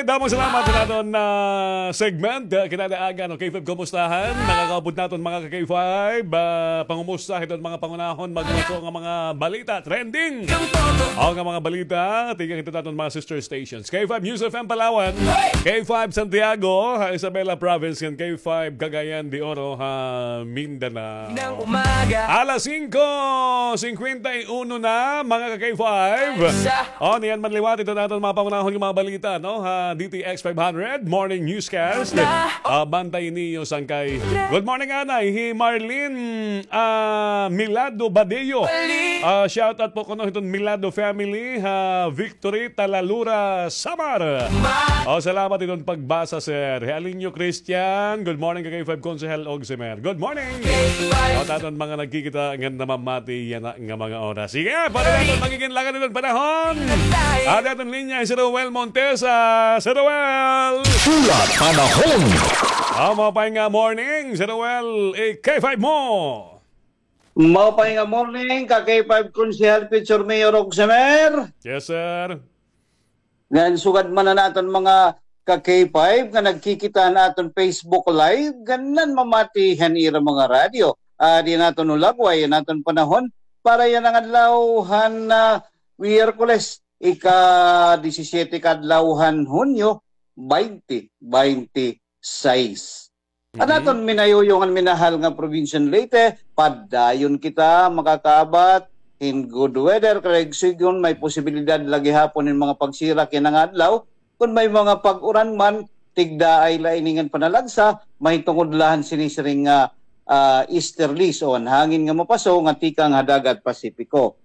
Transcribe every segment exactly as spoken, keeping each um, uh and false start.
Damo nga salamat sa aton, ah, segment. Ah, kinadaagan, okay, K five Kumustahan. Nakakaupod naton mga ka-K five. Ah, pangumusta hiton mga pangunahon, magmaso nga mga balita, trending. O nga mga balita, tikang hiton aton mga sister stations. K five News F M Palawan, K five Santiago, ha Isabela Province, ngan K five Cagayan de Oro, ha Mindanao. Alas singko singkwenta y uno na, mga ka-K five. O, niyan man liwat iton aton mga pangunahon nga mga balita, no? Ha D T X five hundred Morning Newscast. Ah, bantay niyo sangkay. Good morning, anay. Hi Marlene, ah, Milado Badeo. Ah, shout out po kuno hiton Milado family. Ha Victory, Talalura, Samar. O, salamat iton pagbasa, sir. Hi Alinio Christian. Good morning, ka-K five Konsehal Ogsimer. Good morning. Aton mga nagkikita ngan namamati yana nga mga oras. Sige, para naton magigin lagan iton panahon. Aton linya hi Sir Roel Montesa. Sir Roel. Hulat panahon. Ah, maupay nga morning, Sir Roel. Eh, K five mo. Maupay nga morning, ka-K five Konsehal, future Mayor Ogsimer. Yes, sir. Ngan sugad man han aton mga ka-K five nga nagkikita han aton Facebook Live, ngan namamati han ira mga radyo. Adi an aton hulagway, an aton panahon para yana nga adlaw han, ah, Miyerkules, ika-disisiyete ka adlaw han Hunyo, baynte baynte sais. An aton minayuyo ngan minahal nga probinsiya han Leyte, padayon kita makakaabat hin good weather, kay sidngon may posibilidad la gihapon hin mga pagsirak yana nga adlaw. Kon may mga pag-uran man, tigdaay la ini ngan panalagsa, mahitungod la han sinisiring nga, ah, easterlies o an hangin nga mapaso nga tikang ha dagat Pasipiko.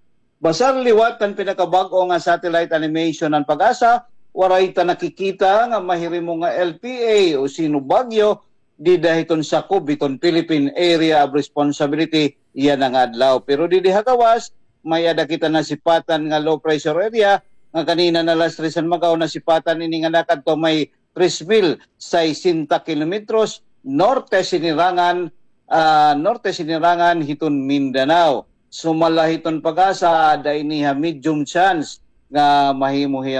Basar liwat han pinakabag-o nga satellite animation han PAGASA, waray ta nakikita nga mahirimo nga L P A o sino bagyo dida hiton sakob hiton Philippine Area of Responsibility yana nga adlaw. Pero didi ha gawas, may-ada kita nasipatan nga low pressure area nga kanina na alas tres han mag-aw nasipatan ini nga nakadto may tres mil sesenta kilometros norte sinirangan, ah, norte sinirangan hiton Mindanao. Sumala hiton PAGASA, aada ini ha medium chance nga mahimo hiya